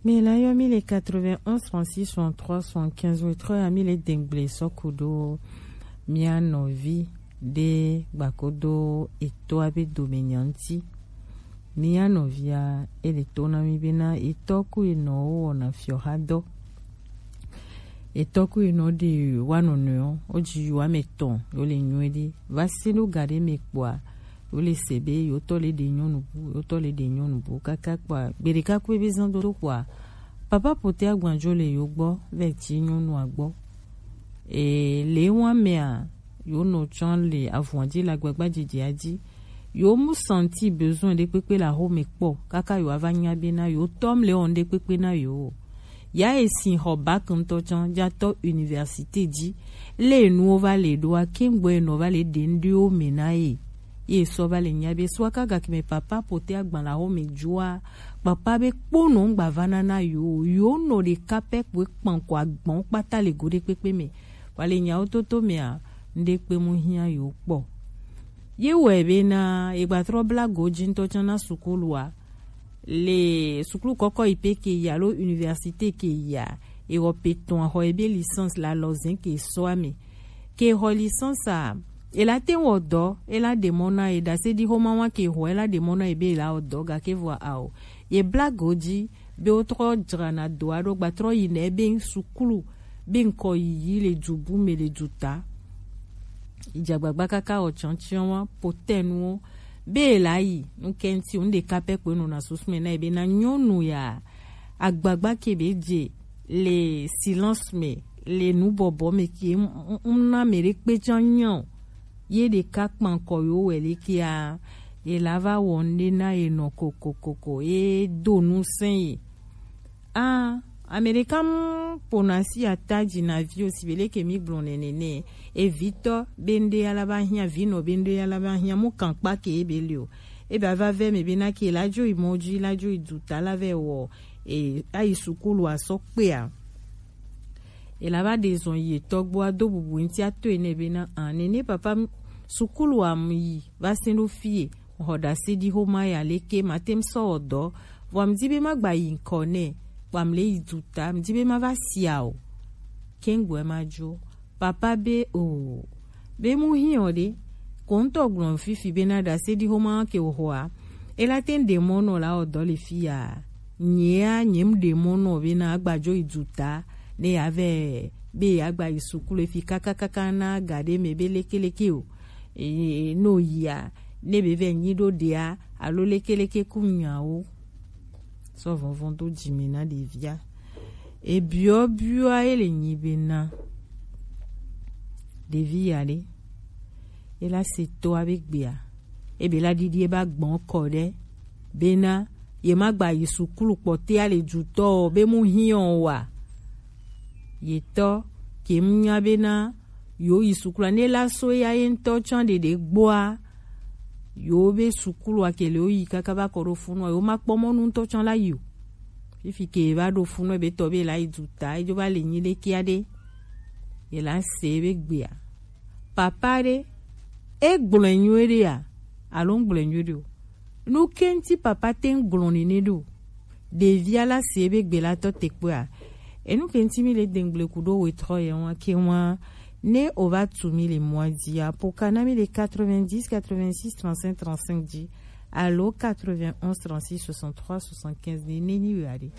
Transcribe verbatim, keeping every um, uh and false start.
Mi la yɔ mi le quatre-vingt-onze trente-six soixante-trois soixante-quinze, wetrɔ ya mi le dengble sɔku do mia nɔvi de gbakodo eto abe dome nyanti. Mia nɔvia ele to na mi bena etɔ ku enɔ wo wɔna fiɔ ha dɔ. Etɔ ku enɔ de wa nɔnɔe o, o ji yo ame tɔn, yo le nyuie de. Va se do ga de me kpɔa, yo le se be yo tɔ le de nyɔnu bu, yo tɔ le de nyɔnu bu kaka kpɔa, gbeɖeka ku ebe zan do do kpɔa, papa pote agbanjo le yo gbɔ, vɛ ti nyɔnua gbɔ. E le wa mea, yo nɔ tsɔn le avɔn ji le agbagba jijia ji. Yo mu senti besoin ɖe kpekpe le axome kpɔ, kaka yo ava nya bena yo tɔ mle wɔn ɖe kpekpe na yo. Ya e sin xɔ bac ŋutɔ tsã ja tɔ université ji. Le nuwo va le ɖoa, kengbe nɔ va le ɖe ŋɖewo me na ye. Ye sɔ va le nya be sɔ aka gake me papa pote agban le axome joa, papa be kpo nɔ ŋgba va na na yo, yo nɔ ɖeka pɛ kpoe kpankɔ agbɔn kpata le go ɖe kpekpe me. Wa le nyawo toto mea, ŋɖe kpe mu hiã yo kpɔ. Ye wɔe bena egbatrɔ bla go ji ŋutɔ tsã na sukulua. Le sukulu kɔkɔ yi pe ke yi alo université ke yia, ewɔ pe tɔn xɔ ebe licence la lɔzɛn ke sɔ ame. Ke xɔ licence a, ela te wɔ dɔ, ela ɖe mɔ na ye ɖase ɖi xoma wa ke xɔ, ela ɖe mɔ na ye be ela wɔ dɔ gake vɔ ao. Ye bla go ji be wotrɔ dzrana do aɖo gbatrɔ yi nɛ be sukulu be ŋkɔ yiyi le du bu me le du ta. Idzagbagba kaka wɔ tsɔntsɔn wa potɛnuwo be la yi nukɛnti ŋɖeka pɛ kpe nɔna susu me na yi be na nyɔnu ya agbagba ke be dze le silence me le nubɔbɔ me ke ŋna me ɖe kpe tsã nya o. Ye ɖeka kpankɔ yo wɛ le kea, ye la va wɔ ŋɖe na ye nɔ kokokoko ye do nu sɛn ye. Ah, Amerika mu pona si ata dzi na vi o si be leke mi gblɔ nene ne. Evitɔ be ŋɖe ya la va hiã, vinɔ be ŋɖe ya la va hiã, mu kankpa ke ebe le o. Ebe ava vɛ me be na ke la dzo yi mɔ dzi, la dzo yi du ta la vɛ wɔ e ayi sukulu asɔ kpea. Ela va ɖe zɔn yi etɔ gbɔ ado bubu ŋti ato ene be na an nene papa sukulu am yi va se ɖo fie. Xɔ ɖase ɖi xoma ya leke mate ŋu sɔ wɔ dɔ, vɔ mdi be magba yi ŋkɔ nɛ, kpam le yi du ta, mdi be mava sia o. Kengbe ma dzo. Papa be o. Be mu hiɔ ɖe. Ko ŋutɔ gblɔ fifi be na ɖase ɖi xoma ke xɔa. Ela te ŋɖe mɔ nɔ la wɔ dɔ le fia. Nyea, nye ŋɖe mɔ nɔ be na agba dzo yi du ta, ne ya vɛ be ya gba yi sukulu fi kaka kaka na ga ɖe me be leke leke o. E, no yia, ne be vɛ nyi ɖo ɖea, alo leke leke ku nyawo. Sɔ vɔvɔn do dzi me na ɖevia. Ebiɔ biɔ ye le nyi be na ɖevi ya ɖe. Ela se to abe gbea. Ebe la ɖiɖi eba gbɔn kɔ ɖe. Bena ye ma gba yi sukulu kpɔtea le dutɔ o, be mu hiɔ wa. Ye tɔ ke mu nya bena yo yi sukulu ne la so ya ye ŋutɔ tsã ɖeɖe gbɔa. Yo be sukulu a ke le wo yi kaka va kɔ ɖo funu a, yo ma kpɔ mɔnu ŋutɔ tsã la yi o. Fifi ke va ɖo funu ebe tɔ be la yi duta, edzo va le nyi ɖe kia ɖe. Ye la se be gbea. Papa ɖe, e gblɔe nyuie ɖe ya, alo ŋgblɔe nyuie ɖe o. Nu ke ŋti papa te ŋu gblɔ nene ɖo? Ɖevia la se be gbe la tɔ te kpɔa. Enu ke ŋti mi le dengble ku ɖo wetrɔ ye wa ke wa ne o va tu mi le mɔa dzia, po kana mi le quatre-vingt-dix, quatre-vingt-six, trente-cinq, trente-cinq dzi, alo quatre-vingt-onze, trente-six, soixante-trois, soixante-quinze ne, ne nyi wea ɖe.